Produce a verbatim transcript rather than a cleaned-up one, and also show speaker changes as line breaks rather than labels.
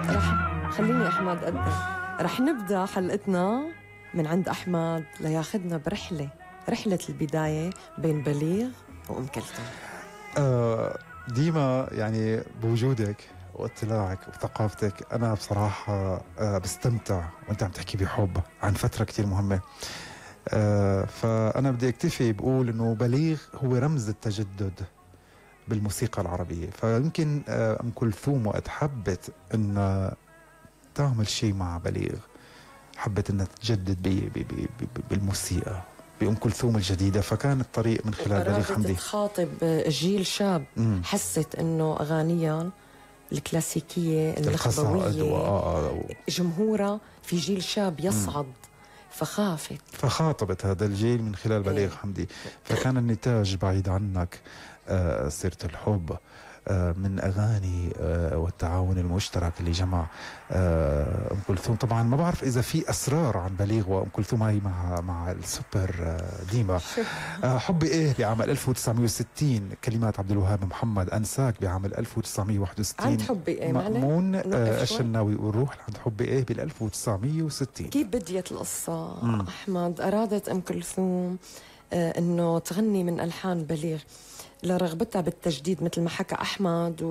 رح خليني أحمد أقدم. رح نبدأ حلقتنا من عند أحمد لياخدنا برحلة رحلة البداية بين بليغ وأم كلثوم.
آه ديما يعني بوجودك واطلاعك وثقافتك أنا بصراحة آه بستمتع وأنت عم تحكي بحب عن فترة كتير مهمة. آه فأنا بدي أكتفي بقول إنه بليغ هو رمز التجدد بالموسيقى العربية. فيمكن آه أم كلثوم وقت حبت إن تعمل شيء مع بليغ حبت إنها تجدد بي بي بي بي بالموسيقى بأم كلثوم الجديدة، فكان الطريق من خلال بليغ حمدي.
تخاطب جيل شاب مم. حست إنه أغانيا الكلاسيكية النخبوية جمهورها في جيل شاب يصعد مم. فخافت
فخاطبت هذا الجيل من خلال بليغ حمدي. فكان النتاج بعيد عنك آه سيرة الحب آه من أغاني آه والتعاون المشترك اللي جمع آه أم كلثوم. طبعا ما بعرف إذا في أسرار عن بليغ وأم كلثوم هاي مع مع السوبر آه ديما. آه حبي إيه بعام ألف وتسعمية وستين كلمات عبد الوهاب محمد، أنساك بعام ألف وتسعمية وواحد وستين
عند حبي إيه
مأمون آه الشناوي، والروح عند حبي إيه بال ألف وتسعمية وستين.
كيف بديت القصة مم. أحمد؟ أرادت أم كلثوم آه إنه تغني من ألحان بليغ لرغبتها بالتجديد مثل ما حكى أحمد